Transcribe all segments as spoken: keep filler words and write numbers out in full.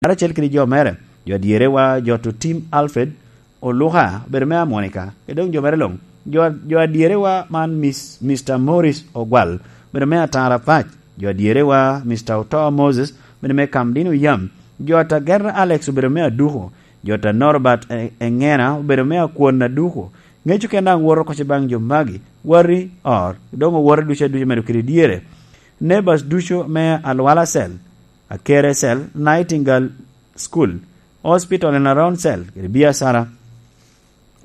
karacel kede jo mere. Jo adyerewa, jo to Tim Alfred Oluka, obedo me Amonika, kede doŋ jo mere luŋ. Jo, jo adyerewa man Miss, Mister Morris Ogwal, obedo me Atara Pac. Jo adyerewa, Mister Oto Moses, obedo me Kamdin Oyam. Jo ta Gerda Alex obedo me Aduku. Jo ta Norbert E-, Engena obedo me Akwon Aduku. Ŋeco ken daŋ woto koce baŋ jo magi, wari or, doŋ owote ducu aduca medo kede dyere. Neighbors ducu me Alwala Cell, Akere Cell, Nightingale School, Hospital and Around Cell, kede biacara.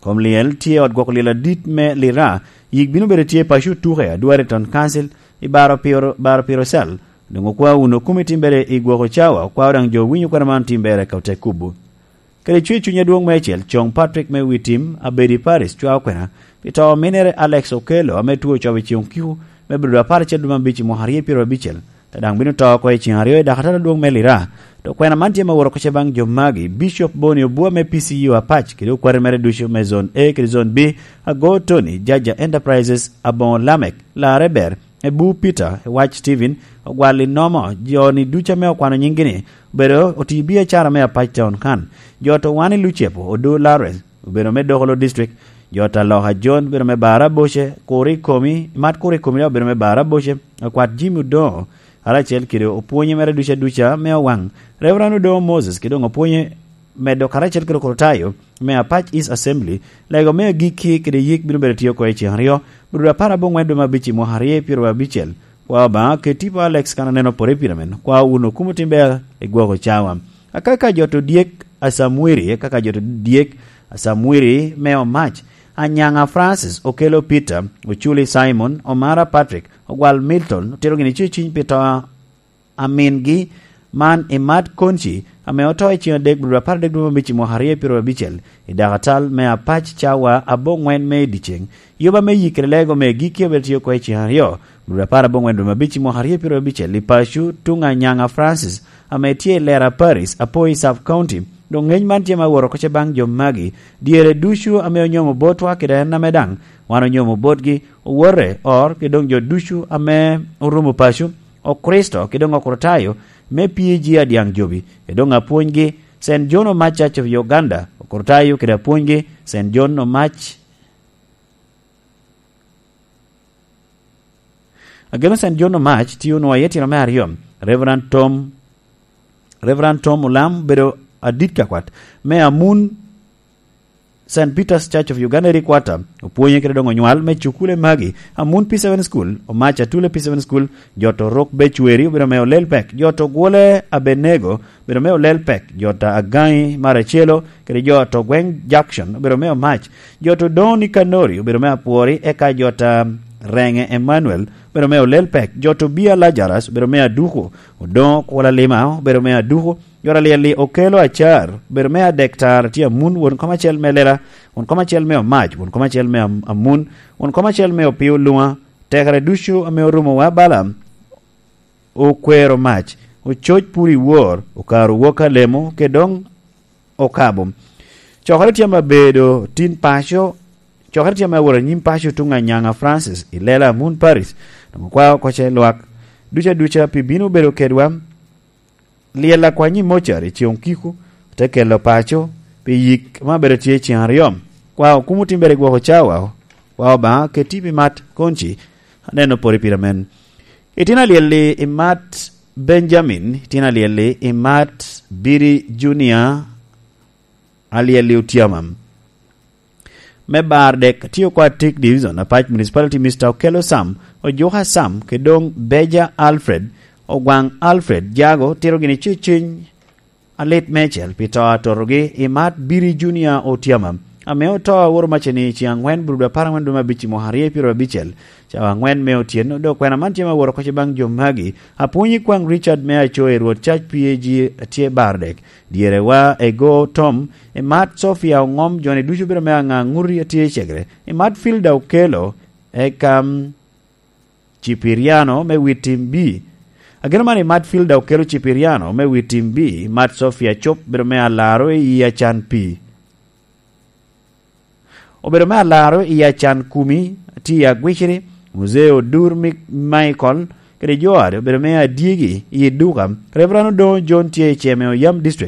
Kom lyel tye i ot gwoko lyel adit me Lira, yik bino bedo tye i paco Tuke, Adwari Town Council, i baro piro, baro piro Cell. Doŋ okwa wunu kumi timbere i gwoko cawa, okwa daŋ jo winyo kwena man timbere ka ote kubo. Kede cwer cuny adwoŋ meicel, Coŋ Patrick me wi tim, Abedi Paris, cwao kwena pi to ominere Alex Okello, ame two ocobo i Coŋ Kiku, me bedo apar acel dwe me abic i mwaka aryo pyeraryo abicel, te daŋ bino to oko i ceŋ aryo i dakatara adwoŋ me Lira. To kwena man tye me woro koce baŋ jo magi, Bishop Boni Obua me P C U Apac, kede okwate mere ducu me Zone A kede Zone B, Ago Tony, Jaja Enterprises, Aboŋo Lamek, Larre Ber, Ebu Peter, Ewac Steven, Ogwal Inomo, jo-ni ducu ame okwano nying-gi-ni, obedo oti biacara me Apac Town kan. Jo to wan i Lucepo, Odo Lawrence, obedo me Dokolo District. Jo ta Loka John, obedo me Bara Boce, Kuri Komi, Mat Kuri Komi daŋ obedo me Bara Boce, Akwat Jimmy Odoŋo, karacel kede opwonye mere duca duca me Owaŋ, Reverend Odoŋo Moses, kede doŋ opwonye medo karacel kede Okrutayo me Apac East Assembly, lego me agikki kede yik bino bedo tye oko i ceŋ aryo, Buto apar aboŋwen dwe me abic i mwaka aryo pyeraryo abicel. Kwa Obaŋa, ket tipo Alex kan aneno pore i pira men. Kwa wun okumo tim ber i gwoko cawa. Akaka jo to dyek Asamwiri, akaka jo to dyek Asamwiri me Omac, Anyaŋa Francis, Okelo Peter, Oculi Simon, Omara Patrick, Ogwal Milton, otito gini ceciny pi to a mingi man i Mat Konci, ame oto i ceŋ adek, Buto apar adek dwe me abic i mwaka aryo pyeraryo abicel, i dakatal me Apac cawa aboŋwen me i dyeceŋ. Yoba me yikere lego me gikki obedo tye oko i ceŋ aryo, Buto apar aboŋwen dwe me abic i mwaka aryo pyeraryo abicel, i paco tuŋ Anyaŋa Francis, ame tye i Lera Paris, Apoi Sub County. Doŋ ŋeny man tye ma woro koce baŋ jo magi, dyere ducu ame onyomo botwa kede en ame daŋ wan onyomo botgi, owote or, kede doŋ jo ducu ame orumo paco, Okricito, kede doŋ Okritayo, me P A G Adyaŋ Jobi, kede doŋ apwonygi, Saint John Omac Church of Uganda, Okritayo, kede apwonygi, Saint John Omac. Ageno Saint John Omac tye onwoŋo iye tino me aryo, Reverend Tom, Reverend Tom Olam bedo adit kakwat me Amun Saint Peter's Church of Uganda Headquarter, opwonye kede doŋ onywal me cukule magi, Amun P seven School, Omac Atule P seven School, jo to Rok Becweri obedo me olel pek, jo to Gwole Abenego obedo me olel pek, jo ta Agaŋi Maracelo, kede jo to Gweŋ Junction obedo me Omac, jo to Doni Kanori obedo me Apwori, eka jo ta Reŋe Emmanuel obedo me olel pek, jo to Bia Lazarus obedo me Aduku, Odoŋo Kwola Lima obedo me Aduku, jo ta Lyelli Okelo Acar obedo me Adek Tar tye Amun, won kom acel me Lela, won kom acel me Omac, won kom acel me Am-, Amun, won kom acel me Opio Luŋa, tekere ducu ame orumo wa bala, okwero mac, ococ pur i wor, okaro wok alemo, kede doŋ okabo. Cokere tye ame abedo tin paco, cokere tye ame awot anyim paco tuŋ Anyaŋa Francis i Lela Amun Paris, doŋ okwao oko ce lwak duca duca pi bino bedo kedwa. Lyel akwany i mocar i ceŋ Kiku, te kelo paco pi yik ma bedo tye i ceŋ aryo. Kwa okumo timbere i gwoko cawa, kwa Obaŋa keti pi Mat Konci, aneno pore pira men. Itino alyel-li i Mat Benjamin, itino alyel-li i Mat Biri Junior, alyel-li Otyama. Me bar dek, tye okwa Tik Division, Apac Municipality, Mister Okello Sam, Ojuka Sam, kede doŋ Beja Alfred, Ogwaŋ Alfred, Jago, tito gini ceciny alit meicel pi to atotogi i Mat Biri Junior Otyama, ame oto aworo maceni i ceŋ aŋwen Buto apar aŋwen dwe me abic i mwaka aryo pyeraryo abicel, cawa aŋwen me otyeno, dok kwena man tye ma woro koc baŋ jo magi. Apwony i kwaŋ Richard me Aco i Rwot Cac P A G tye bar dek. Dyerewa Ego Tom, i Mat Sofia Oŋom, joni ducu bedo me aŋa ŋuti atye i cegere. I Mat Filda Okello, eka, mm, Cipiriano me Witim B. Ageno man i Mat Filda Okello Cipiriano me Witim B, Mat Sofia Cop bedo me alaro i Acan P. Obedo me alaro i Acan Kumi, tye i Agwiciri, Muzee Odur Mi-, Michael, kede jo a obedo me adyegi i duka. Reverend Odongo John tye i Ceme, Oyam District.